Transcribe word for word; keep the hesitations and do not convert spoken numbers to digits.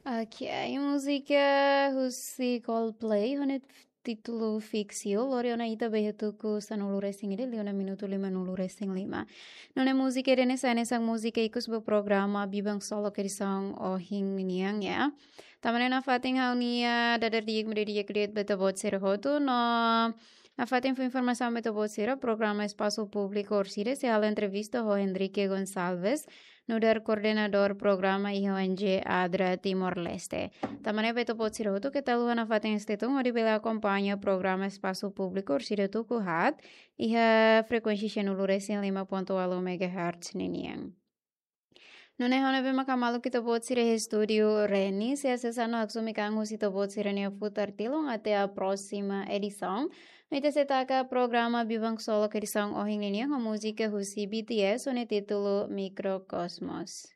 Ok, múzika husi Coldplay, ho nia títulu Fix You, lori ona ita ba iha tuku sanulu resin ida, liu ona minutu limanulu resin lima. Nune'e múzika ida-ne'e sai hanesan múzika ikus ba programa Biban Solok edisaun ohin nian, ya. Tanba ne'e nafatin ha'u-nia dadeer di'ak, mak di'ak liu ba ita-boot sira hotu, no nafatin fó informasaun ba ita-boot sira, programa Espasu Públiku Orsida sei halo entrevista ho Henrique Gonçalves, nu'udar koordenadór programa iha O N G ADRA Timor-Leste. Tanba ne'e ba ita-boot sira hotu keta haluha nafatin stay tune hodi bele akompaña programa Espasu Públiku Orsida tuku haat iha frekuénsia sanulu resin lima ponto ualu megahertz ninian. Nune'e ha'u ne'ebé maka maluk ita-boot sira iha estúdiu Reni, sei asesa no haksomi an husi ita-boot sira-nia futar tilun até a próxima edição. No ita sei taka programa Biban Solok edisaun ohin nian ho múzika husi B T S ho nia títulu Microcosmos.